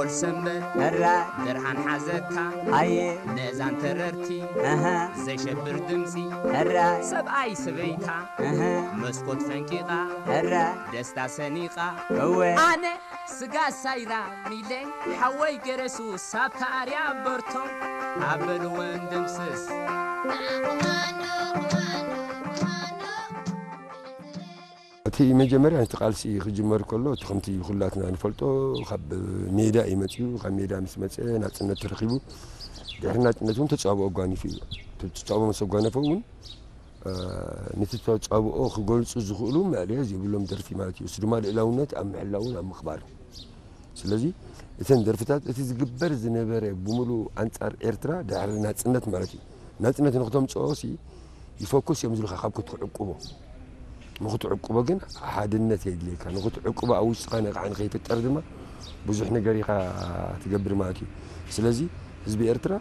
ኦል ሰንበት ሕራ ብርሃን ሓዘካ ሃየ ነዛን ተረርቲ ኣሃ ዘሸብር ድምፂ ሕራ ሰብኣይ ሰበይታ ኣሃ መስኮት ፈንቂቓ ሕራ ደስታ ሰኒቓ እወ ኣነ ስጋ ሳይራ ሚለ ሓወይ ገረሱ ሳብታ ኣርያ በርቶ ኣበልወን ደምስስ እቲ መጀመርያ እቲ ቃልሲ ክጅመር ከሎ እቲ ከምቲ ኩላትና ንፈልጦ ካብ ሜዳ እዩ መፅኡ። ካብ ሜዳ ምስ መፀ ናፅነት ተረኪቡ ድሕሪ ናፅነት እውን ተፃብኦ ኣጓኒፉ እዩ። እቲ ተፃብኦ ምስ ኣጓነፈ እውን ነቲ ተፃብኦ ክገልፁ ዝኽእሉ መእለየ ዘይብሎም ደርፊ ማለት እዩ። እሱ ድማ ልእላውነት ኣብ ምሕላውን ኣብ ምኽባርን። ስለዚ እተን ደርፍታት እቲ ዝግበር ዝነበረ ብምሉእ ኣንፃር ኤርትራ ድሕሪ ናፅነት ማለት እዩ። ናፅነት ንክተምፅኦ ሲ ይፈኩስ እዮም ዝልካ ካብ ክትዕቅቦ ንክትዕቅቦ ግን ሓድነት የድልየካ። ንክትዕቅቦ ኣብ ውሽጥኻ ነቕዓ ንከይፍጠር ድማ ብዙሕ ነገር ኢኻ ትገብር ማለት እዩ። ስለዚ ህዝቢ ኤርትራ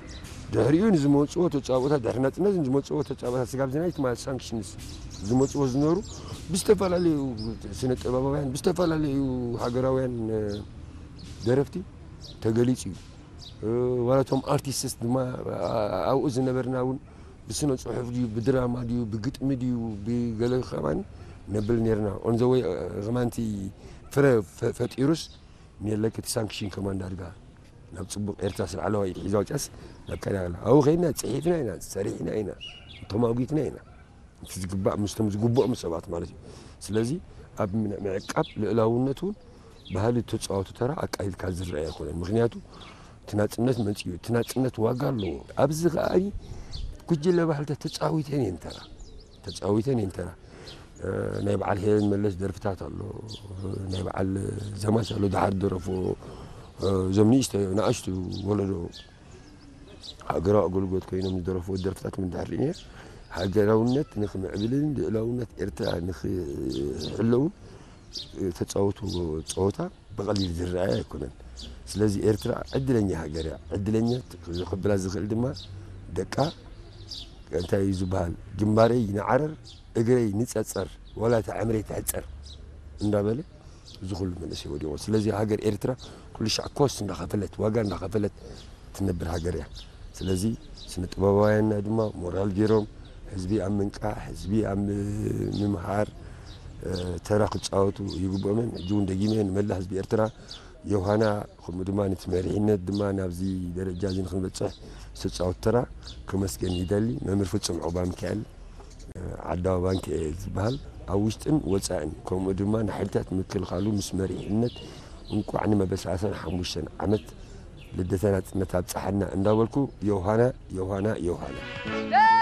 ድሕሪኡ ንዝመፅዎ ተፃብኦታት ድሕሪ ናፅነት ንዝመፅዎ ተፃብኦታት ስጋብ ዝናይ ትማ ሳንክሽንስ ዝመፅዎ ዝነበሩ ብዝተፈላለዩ ስነ ጥበባውያን ብዝተፈላለዩ ሃገራውያን ደረፍቲ ተገሊፁ እዩ። ዋላቶም ኣርቲስትስ ድማ ኣብኡ ዝነበርና እውን ብስነ ፅሑፍ ድዩ ብድራማ ድዩ ብግጥሚ ድዩ ብገለ ከማን ነብል ነርና። ኦንዘወይ ከማንቲ ፍረ ፈጢሩስ ኔለክ እቲ ሳንክሽን ከማን ዳርጋ ናብ ፅቡቅ ኤርትራ ስለ ዓለዋ ኢድ ሒዛ ወፅያስ ናብ ካዳ ኣብኡ ከይድና ፅሒፍና ኢና ሰሪሕና ኢና ተማጒትና ኢና። እቲ ዝግባእ ምስቶም ዝግብኦም ሰባት ማለት እዩ። ስለዚ ኣብ ምዕቃብ ልእላውነት እውን ባህሊ ተፃወቱ ተራ ኣቃሊልካ ዝረአ ኣይኮነን። ምክንያቱ እቲ ናፅነት መፅኡ እቲ ናፅነት ዋጋ ኣለዎ። ኣብዚ ከኣ ጉጅለ ባህልታት ተፃዊተን እየን ተራ ተፃዊተን እየን ተራ ናይ በዓል ሄለን መለስ ደርፍታት ኣሎ ናይ በዓል ዘማች ኣሎ ድሓር ደረፎ እዞም ንእሽቶ ንኣሽቱ ወለዶ ሃገራዊ ኣገልግሎት ኮይኖም ዝደረፍዎ ደርፍታት ምን ድሕር እየ ሃገራውነት ንክምዕብልን ልእላውነት ኤርትራ ንክሕለውን ተፃወቱ ፀወታ ብቐሊል ዝረኣየ ኣይኮነን። ስለዚ ኤርትራ ዕድለኛ ሃገር እያ። ዕድለኛ ክብላ ዝኽእል ድማ ደቃ እንታይ እዩ ዝበሃል ግንባረይ ንዓረር እግረይ ንፀፀር ዋላ እታ ዕምረይ ትሕፀር እንዳበለ እዚ ኩሉ መንእሰይ ወዲቑ። ስለዚ ሃገር ኤርትራ ኩሉ ሻዕ ኮስት እንዳኸፈለት ዋጋ እንዳኸፈለት ትነብር ሃገር እያ። ስለዚ ስነ ጥበባውያንና ድማ ሞራል ገይሮም ህዝቢ ኣብ ምንቃሕ ህዝቢ ኣብ ምምሃር ተራ ክፃወቱ ይግብኦምን። ሕጂ እውን ደጊመ ንመላእ ህዝቢ ኤርትራ ዮሃና ከምኡ ድማ ነቲ መሪሕነት ድማ ናብዚ ደረጃ እዚ ንክንበፅሕ ዝተፃወት ተራ ከመስገን ይደሊ። መምህር ፍፁም ዑባ ሚካኤል ዓዳዊ ባንክ እየ ዝበሃል ኣብ ውሽጥን ወፃእን ከምኡ ድማ ንሓይልታት ምክልኻሉ ምስ መሪሕነት እንቋዕ ንመበል ሰላሳን ሓሙሽተን ዓመት ልደተ ናፅነት ኣብፀሓና እንዳበልኩ ዮሃና ዮሃና ዮሃና